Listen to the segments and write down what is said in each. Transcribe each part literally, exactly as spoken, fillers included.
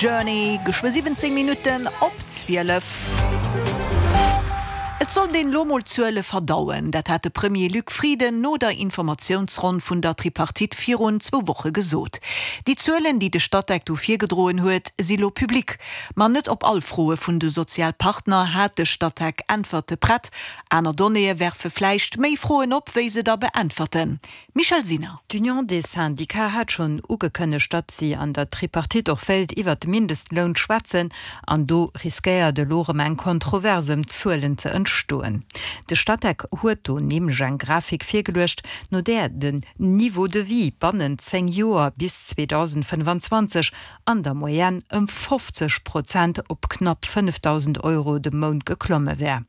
Journey, geschwë siwwenzéng Minutten op zwielef. Et sollt een lo mol d'Zuele verdauen, dat hat de Premier Luc Frieden no der Informatiounsronn vun der Tripartite virun zwou Woche gesot. Déi Zuelen, déi de Statec do virgedroen huet, si lo public. Ma net op all Froe vun de Sozialpartner hat de Statec Äntwerte prett. Aner Donnéeë werfe vläicht méi Froen op, wéi se der beäntwerten. Michèle Sinner. D'Union des Syndicats hat schonn ugekënnegt, datt si an der Tripartite och wéilt iwwert de Mindestloun schwätzen an do riskéiert elo erëm eng Kontrovers ëm d'Zuelen ze entstoen. De Statec huet do nämlech eng Grafik virgeluecht, no där den Niveau de vie bannent zéng Joer bis zweedausendfënnfanzwanzeg an der Moyenne ëm fofzeg Prozent op knapp fënnefdausend Euro de Mount geklomme wär.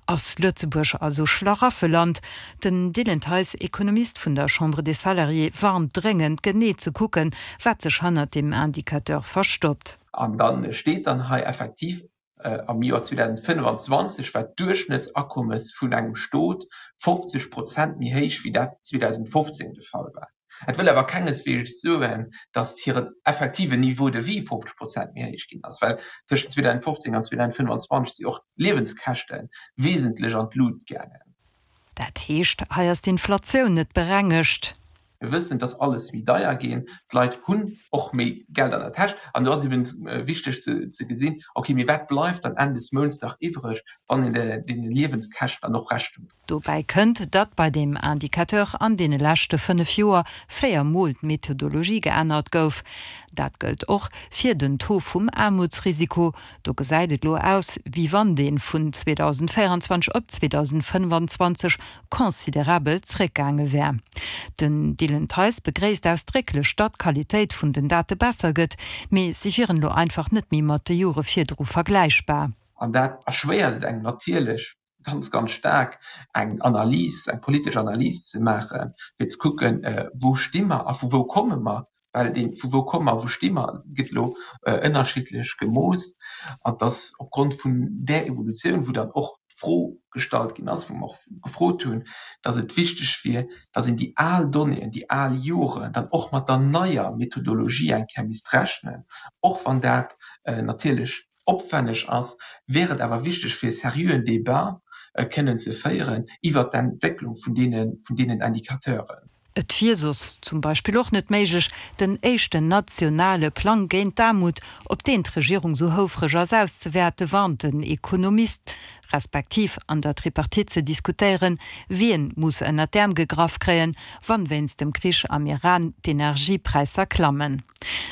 Ass Lëtzebuerg also Schlaraffeland? Den Dylan Theis, Ekonomist vun der Chambre des Salariés, warnt dréngend, genee ze kucken, wat sech hannert deem Indicateur verstoppt. An da steet dann hei effektiv, am Joer zweedausendfënnfanzwanzeg war d'Duerchschnëttsakommes vun engem Stot fofzeg Prozent méi héich wéi dat zweedausendfofzéng de Fall war. Dat wëll awer kengesweegs soen, datt hiren effektiven Niveau de vie fofzeg Prozent méi héich ginn ass, well tëschent zweedausendfofzéng an zweedausendfënnfanzwanzeg si och d'Liewenskäschte wesentlech an d'Lut gaangen. Dat heescht, hei ass d'Inflatioun net berengegt. Mir wëssen, dass alles méi deier ginn, d'Leit hunn och méi Geld an der Täsch an do ass eben wichteg ze gesinn, okay, mee wat bleift dann Enn des Mounts nach iwwreg, wann een deene Liewenskäschten dann och Rechnung dréit. Dobäi kënnt, datt bei deem Indicateur an deene leschte fënnef Joer véier Mol d'Methodologie geännert gouf. Dat gëllt och fir den Taux vum Aarmutsrisiko. Do gesäit et lo aus, wéi wann dee vun zweedausendvéierenzwanzeg op zweedausendfënnfanzwanzeg considerabel zréckgaange wär. Den Dylan Theis begréisst ausdrécklech, datt d'Qualitéit vun den Date besser gëtt, mee si wieren elo einfach net méi mat de Jore virdru vergläichbar. An dat erschwéiert et engem natierlech ganz, ganz staark, eng Analys, eng politesch Analys ze maachen, fir ze kucken, wou sti mer a vu wou komme mer. Well dee vu wou komme mer a wou sti mer gëtt elo ënnerschiddlech gemooss. An et ass opgrond vun där Evolutioun, wou dann och d'Fro gestallt ginn ass, wou mer och gefrot hunn, datt et wichteg wier, datt een déi al Donnéeën, déi al Joren dann och mat der neier Methodologie eng Kéier misst rechnen, och wann dat natierlech opwenneg ass, wär et awer wichteg fir e seriöen Débat kënnen ze féieren iwwert d'Entwécklung vun deenen Indicateuren. Et wier soss zum Beispill och net méiglech, den éischten nationale Plang géint d'Aarmut, op deen d'Regierung sou houfreg ass, auszewäerten, warnt den Ekonomist, respektiv an der Tripartite ze diskutéieren, wien muss ënnert d'Äerm gegraff kréien, wann wéinst dem Krich am Iran d'Energiepräisser klammen.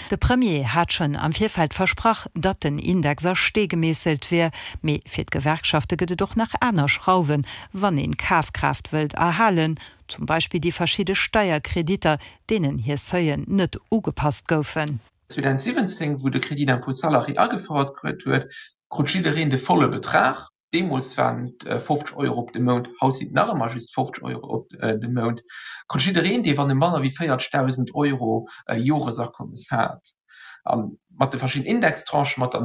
De Premier hat schonn am Virfeld versprach, datt den Index a Stee gemeesselt wier, mee fir d'Gewerkschafte gëtt et och nach aner Schrauwen, wann een Kafkraaft wëllt erhalen, zum Beispill déi verschidde Steierkreditter, deenen hir Seuillen net ugepasst goufen. zweedausendsiwwenzéng, wou de Crédit d'impôt salarié agefouert gëtt huet, krut jiddereen de volle Betrag. Deemools waren et fofzeg Euro op de Mount, haut sinn et nach ëmmer just fofzeg Euro op de Mount. Krut jiddereen, dee wann e manner wéi véierzegdausend Euro Joresakommes hat. A mat de verschiddenen Indextranchen, mat der